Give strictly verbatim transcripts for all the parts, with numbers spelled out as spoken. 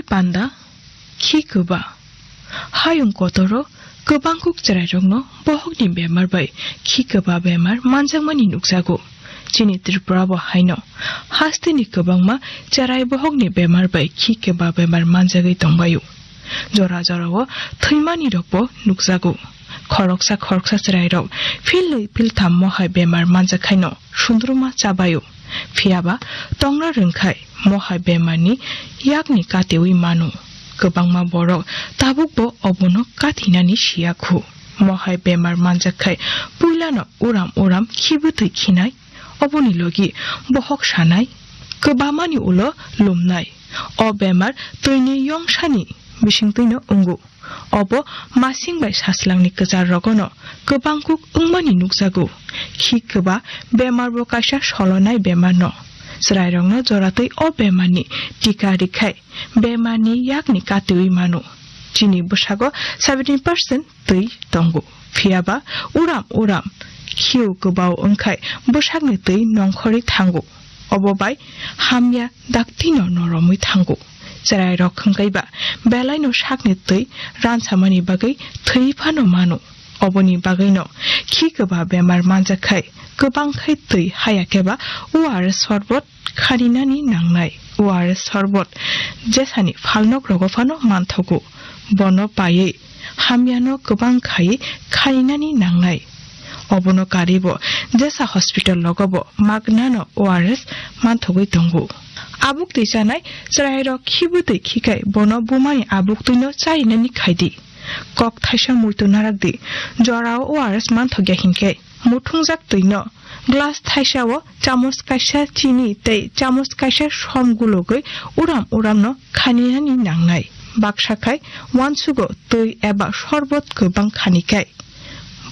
panda, khi kwba. Hayung kotoro kwbang kuk chwrairokno bohokni bemar bai khi kwba bemar manjakmani nukjago. Chini Tripura bo haino hasteni kwbangma chwrai bohokni bemar bai khi kwba bemar manjagwi tongbaio. Jora jorao thwimani rokbo nukjago. Khoroksa khoroksa chwrairok philnwi philtham mohai bemar manjakhaino sundruma chabaio. Phiyaba tongra rwngkhai mohai bemarni yakni katewi mano. Kwbangma borok tabukbo obono katinani siyakhu. Mohai bemar manjakkhai puilano uram uram khibwtwi khinai. Oboni logi bohok sanai, kwbamani ulo lumnai. O bemar twini yongsani bisingtwino wngo. Obo masing bai saslangni kwchar rogono kwbang kuk wngmani nukjago. Khi kwba bemar bo kaisa solonai bemar no. Chwrairokno joratwi o bemarni tika rikhai bemarni yakni katewi mano. Chini bwsago seventy percent twi tongo. Phiyaba uram uram khiu kwbao wngkhai bwsakni twi nongkhorwi thango. Obo bai hamya daktino noromwi thango. Chwrairok hwnkaiba belaino sakni twi ransamani bagwi thwi phano mano. Oboni bagwino khi kwba bemar manjakkhai kwbangkhai twi hayakhe ba O R S sorbot khaninani nangnai. O R S sorbot jesani phalnok rogo phano manthogo. Bono paiwi hamyano kwbang khai khainani nangnai. Obono karibo jesa hospital rogobo magnano O R S manthogwi tongo. Abuk twi chanai chwrairok khibwtwi khikhai bono bumani abuk twino charinani khaidi. Kok thaisa muitu narakdi, jorao O R S manthokya hinkhe muthungjak twino glass thaisao chamos kaisa chini tei chamos kaisa som gulugwi uram uramno khaninani nangnai. Baksa khai uansugo twi eba sorbot kwbang khanikhai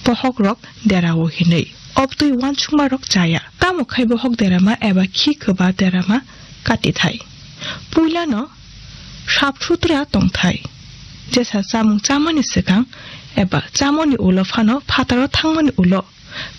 bohokrok derao hinwi obtwi uansukmarok chaya. Tamo khai bohok derama eba khi kwba derama katithai? Puilano sap sutra tongthai. Jesa chamung chamani swkang eba chamoni ulo phano phataro thangmani ulo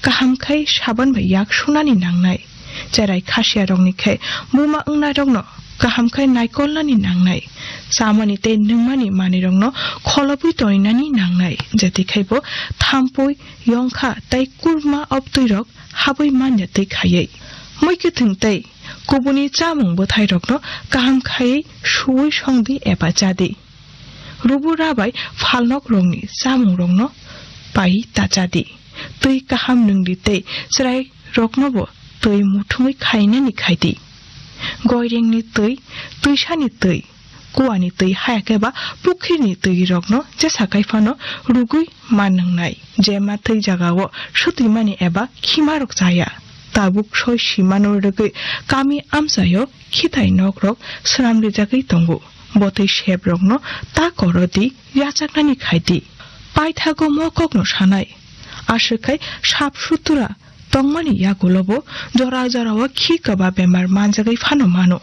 kaham khai saban bai yak sunani nangnai. Cherai khasiyarokni khai buma wngnairokno kaham khai naikolnani nangnai. Chamani tei nungmani manwirokno kholobwi toninani nangnai. Jeti khai bo thampui, yongkha tei kurma obtwirok habwi manya twi khaiwi. Muikwthwng tei kubuni chamung bwthairokno kaham khaiwi suwi songdi eba chadi. Rubu rabai phalnokrokni chamungrokno pai ta chadi. Twi kaham nwngdi tei chwrairoknobo twi muthungwi khainani khaidi. Goirengni twi, twisani twi, kuani twi hayakhe ba pukhirini twirokno jesa khai phano rugwi ma nwngnai. Je ma twi jagao swtwimani eba khimarok chaya. Tabuk soi simano rwgwi kami amchaio khitai nokrok swnamrijagwi tongo. Bo twi seprokno ta koro di, yachaknani khai di. Paithago mo kokno sanai. Aswk khai sap sutra tongmani yagulobo jora jorao khi kwba bemar manjagwi phano mano.